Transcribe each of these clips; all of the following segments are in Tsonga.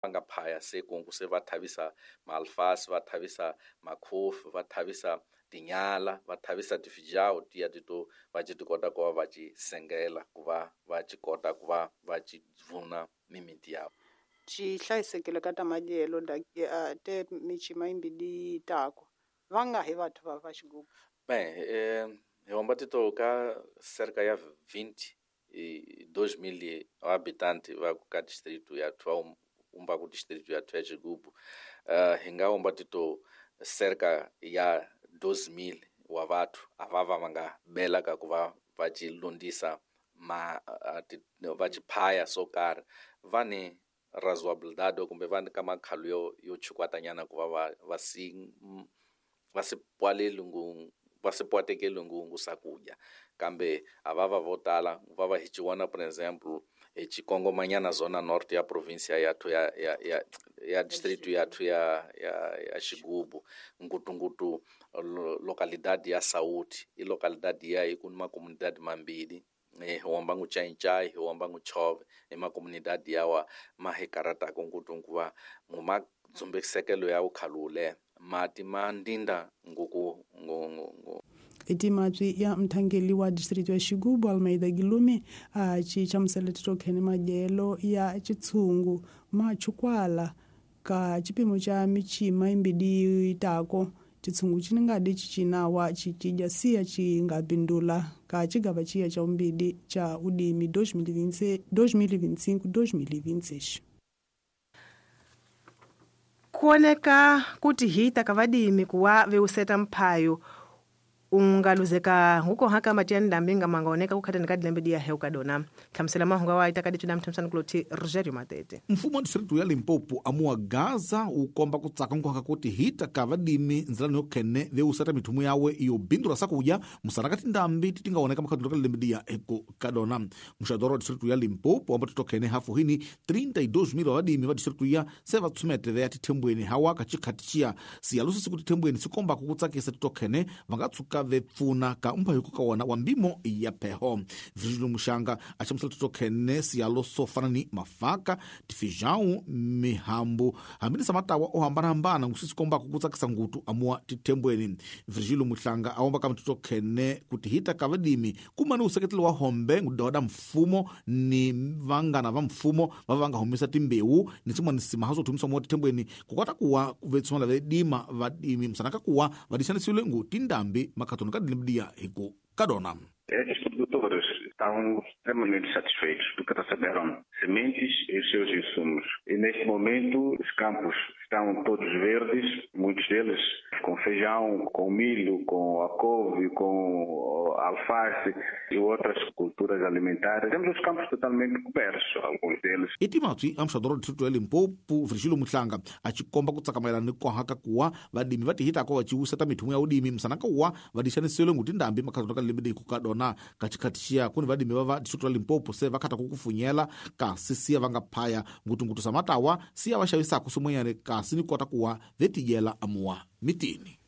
Va nga phaya se kungu se va thavisa maalfasi, va thavisa makhofi, va thavisa tinyala, va thavisa tifijawu tiya tito va ci ti kota ku va va ci sengela ku va va ci kota ku va va ci bvuna mimiti yavo. Ci hlayisekile ka ta madyelo te micima yimbili tako va nga hi vathu va va Xigubu. Bem, hi homba tito ka cerca ya 22 mil habitantes va ka distrito ya thwa umba ku distrito ya thwa Xigubu, hi nga homba tito cerca ya 12 mil wa vathu a va va va nga bela ka ku va va ci lundisa ma va ci phaya swo karhi, va ni razoabilidade kumbe va ni ka makhalo yo chukwatanyana ku va va si pwaleli ngu va si pwatekeli ngungu swakudya, kambe a va va vo tala va va hi ci vona, por exemplo, hi ci kongomanyana zona norte ya província yathu ya distrito yathu ya Xigubu, ngutungutu localidade ya Sauti. I localidade ya hi ku ni macomunidade mambili, hi homba ngu Chaichai, hi homba ngu Chove. I macomunidade yawa ma hi karataka ngutu va mu dzumbisekelo ya ukhalule mati ma ndinda nguku ngu. Etimatwi ya mthangeli wa distrito ya Xigubu, Almeida Gilume, a ci chamusela titokhene madyelo ya chitshungu machukwala ka chipimo cha michima imbidi itako chitshungu chiningadi chichinawa chichidya siya chingapindula ka chigava chiya cha umbidi cha udimi 2025 2026. Kuoneka kuti hita kavadimi kuwa veuseta mphayo ungaluzeka nguko haka matiani ndambi mangaoneka kukhatani kadilembe diya heu kadona hlamusela mahungu awa ita kadicu namthamsani kuloti Rogerio Matete. Mfumo wa distritu ya Limpopo amuwa gaza ukomba kutsaka nkuhaka kuti hita ka vadimi nzilani yokhene veusata mithumu yawe yobindula sakudya musana tindambi titingaoneka makhadulu ka lembe diya eku kadona. Muxadoro wa distritu ya Limpopo amba titokhene hafu hini 32 mil wa vadimi va distritu ya se va tsumete veya tithembweni hawa ka chikhati chiya siyalusi siku tithembweni sikombaka kutsakisa titokhene va nga tshuka vepfuna ka mphayuko ka wona wa mbimo ya pheho. Virgilio Muxanga a hlamusela titokhene siyalo swo fana ni mafaka, tifijau, mihambu hambilisa matawa o hambanahambana nguswi sikombaka ku tsakisa ngutu amuwa tithembweni. Virgilio Muhlanga a womba ka mitotokhene kuti hita ka vadimi kumani useketelo wa hombe ngudoda mfumo ni vangana va mfumo va va nga humisa timbewu ni swin'wana simaha swo thumisa muwa tithembweni kukota kuwa vetsumala vedima vadimi musana ka kuwa vadixanisiwile ngu tindambi makhatoni ka dilembidiya hi ku ka dona. Estes produtores estão extremamente satisfeitos porque receberam sementes e os seus insumos. E neste momento os campos estão todos verdes, muitos deles com feijão, com milho, com a couve, com alface e outras culturas alimentares. Temos os campos totalmente cobertos, alguns deles. Etimatswi a muxadoro wa distrito ya Limpopo, Virgilio Muhlanga, a ci komba ku tsakamayelana ni kohaka kuwa vadimi va tihitako va ciwisa ta mithumu ya udimi musana ka kuwa vadixanisiwile ngu tindambi makhatoni ka lembe leyi ku ka dona ka chikhati xiya kuni vadimi va va distrito ya Limpopo se va khata ku kufunyela kasi siya va nga phaya ngutungutu sa matawa siya va xavisaka swin'wanyana kasi ni kota kuwa vetidyela amuwa mitini.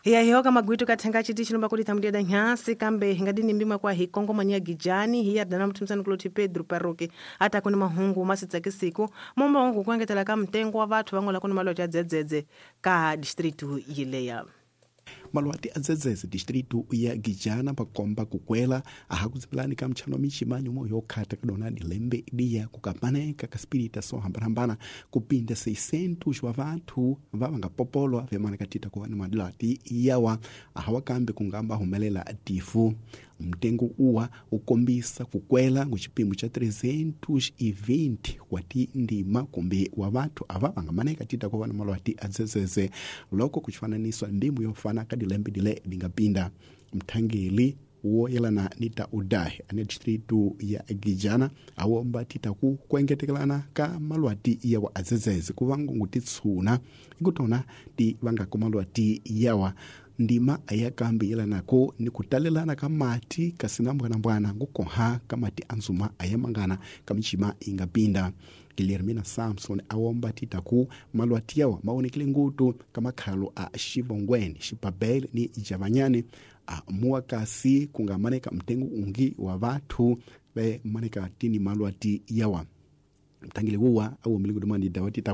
Hiya hihoka magwitu kathenga chiti chilomba kuti thamudiyada nhyasi kambe hingadini mbimwa kwa hi kongomanya gijani hiya dana mthumisani kuloti Pedro Paroki ata kuni mahungu masitsakisiku momba wangu kuengetela ka mtengo wa vathu vang'ola kuni malwathu ya dzedzedze ka distritu yileya. Malwati a dzedzedze distritu ya Gijana pakomba kukwela aha kudzipilani ka mtchano wa michima nyumo yokhata kadona dilembe diya kukapaneka ka spirita so hambanahambana kupinda 600 wa vanthu va vangapopolwa vyamana katita kuva ni malwati yawa aha wakambe kungamba humelela tifu. Mtengo uwa ukombisa kukwela nguchipimo cha 320 wati ndima kumbe wa vanthu ava vangamaneka tita kuva ni malwati a dzedzedze loko kuchifananiswa ndimu yofana kadilembe dile dingapinda. Mthangeli woyelana ni ta udahi ane distritu ya Gijana awomba tita ku kuengetekelana ka malwati yawa adzedzedze kuvangungu titsuna ikutona ti vangako malwati yawa ndima ayakambi yelanako ni kutalelana ka mati kasina mbwanambwana ngukoha ka mati anzuma ayamangana kamichima ingapinda. Guilhermina Samson awomba titaku malwati yawa maonekele ngutu kamakhalo a Xivongweni, Xibabele ni Javanyane a muwa kasi kungamaneka mtengo ungi wa vathu ve maneka tini malwati yawa. Mthangeli wuwa awomile kudumani dawati taku.